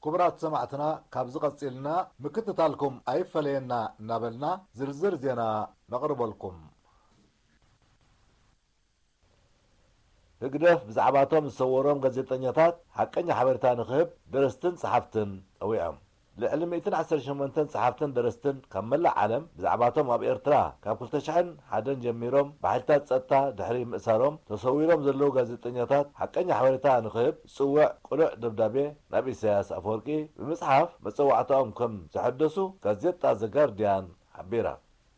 ክቡራት ሰማዕትና፣ ካብዚ ቀጺልና ምክትታልኩም ኣይፈለየና እናበልና ዝርዝር ዜና ነቕርበልኩም። ህግደፍ ብዛዕባቶም ዝሰወሮም ጋዜጠኛታት ሓቀኛ ሓበሬታ ንኽህብ ደረስትን ጸሓፍትን ጸዊዖም። ልዕሊ ሚእትን ዓሰርተ ሸሞንተን ጸሓፍትን ደረስትን ካብ መላእ ዓለም ብዛዕባቶም ኣብ ኤርትራ ካብ ክልተ ሽሕን ሓደን ጀሚሮም ብሓይልታት ጸጥታ ድሕሪ ምእሳሮም ተሰዊሮም ዘለዉ ጋዜጠኛታት ሓቀኛ ሓበሬታ ንኽህብ ዝጽውዕ ቅሉዕ ደብዳቤ ናብ ኢሳያስ ኣፈወርቂ ብምጽሓፍ መጸዋዕታኦም ከም ዘሐደሱ ጋዜጣ ዘጋርድያን ሓቢራ።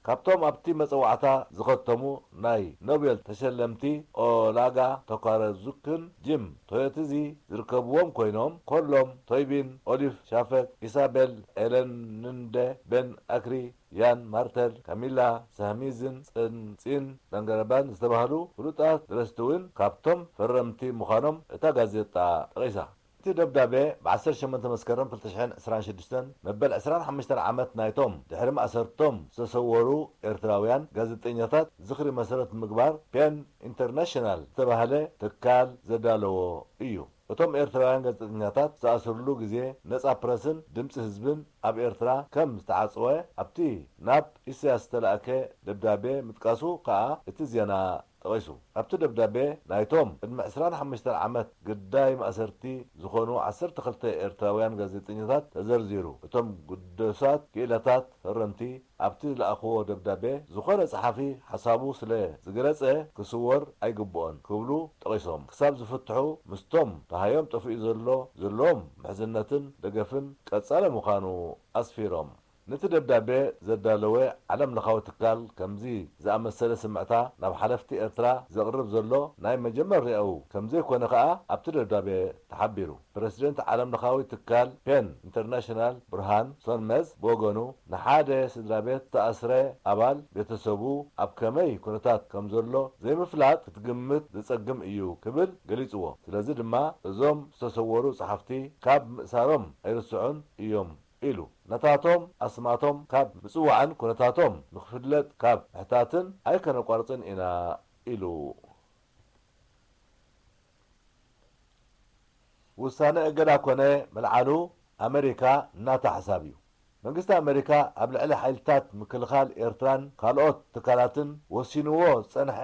ካብቶም ኣብቲ መጸዋዕታ ዝኸተሙ ናይ ኖቤል ተሸለምቲ ኦላጋ ቶካረዙክን ጂም ቶዮትዚ ዝርከብዎም ኮይኖም፣ ኮሎም ቶይቢን፣ ኦሊፍ ሻፈክ፣ ኢሳቤል ኤለንንደ፣ ቤን ኣክሪ፣ ያን ማርተል፣ ካሚላ ሳህሚዝን ጸንጺን ዳንገረባን ዝተባህሉ ፍሉጣት ደረስቲ እውን ካብቶም ፈረምቲ ምዃኖም እታ ጋዜጣ ጠቒሳ። እቲ ደብዳቤ ብ ዓሰርተ ሸሞንተ መስከረም ክልተ ሽሕን ዕስራን ሽዱሽተን መበል ዕስራን ሓሙሽተን ዓመት ናይቶም ድሕሪ ማእሰርቶም ዝተሰወሩ ኤርትራውያን ጋዜጠኛታት ዝኽሪ መሰረት ብምግባር ፔን ኢንተርናሽናል ዝተባህለ ትካል ዘዳለዎ እዩ። እቶም ኤርትራውያን ጋዜጠኛታት ዝተኣስርሉ ግዜ ነጻ ፕረስን ድምጺ ህዝብን ኣብ ኤርትራ ከም ዝተዓጽወ ኣብቲ ናብ ኢሳያስ ዝተላእከ ደብዳቤ ምጥቃሱ ከኣ እቲ ዜና ጠቒሱ። ኣብቲ ደብዳቤ ናይቶም ቅድሚ ዕስራን ሓሙሽተን ዓመት ግዳይ ማእሰርቲ ዝኾኑ ዓሰርተ ክልተ ኤርትራውያን ጋዜጠኛታት ተዘርዚሩ። እቶም ግዱሳት ክኢላታት ፈረምቲ ኣብቲ ዝለኣኽዎ ደብዳቤ፣ ዝኾነ ጸሓፊ ሓሳቡ ስለ ዝገለጸ ክስወር ኣይግብኦን ክብሉ ጠቒሶም፣ ክሳብ ዝፍትሑ ምስቶም ደሃዮም ጠፊኡ ዘሎ ዘለዎም ምሕዝነትን ደገፍን ቀጻሊ ምዃኑ ኣስፊሮም። ነቲ ደብዳቤ ዘዳለወ ዓለም ለኻዊ ትካል ከምዚ ዝኣመሰለ ስምዕታ ናብ ሓለፍቲ ኤርትራ ዘቕርብ ዘሎ ናይ መጀመርያኡ ከምዘይኮነ ከኣ ኣብቲ ደብዳቤ ተሓቢሩ። ፕረሲደንት ዓለም ለኻዊ ትካል ፔን ኢንተርናሽናል ብርሃን ሶንመዝ ብወገኑ፣ ንሓደ ስድራ ቤት ዝተኣስረ ኣባል ቤተሰቡ ኣብ ከመይ ኩነታት ከም ዘሎ ዘይምፍላጥ ክትግምት ዘጸግም እዩ ክብል ገሊጽዎ። ስለዚ ድማ እዞም ዝተሰወሩ ጸሓፍቲ ካብ ምእሳሮም ኣይርስዑን እዮም ኢሉ። ነታቶም ኣስማቶም ካብ ምጽዋዕን ኩነታቶም ንኽፍለጥ ካብ ምሕታትን ኣይከነቋርጽን ኢና ኢሉ። ውሳነ እገዳ ኮነ ምልዓሉ ኣመሪካ እናታ ሓሳብ እዩ። መንግስቲ ኣመሪካ ኣብ ልዕሊ ሓይልታት ምክልኻል ኤርትራን ካልኦት ትካላትን ወሲንዎ ዝጸንሐ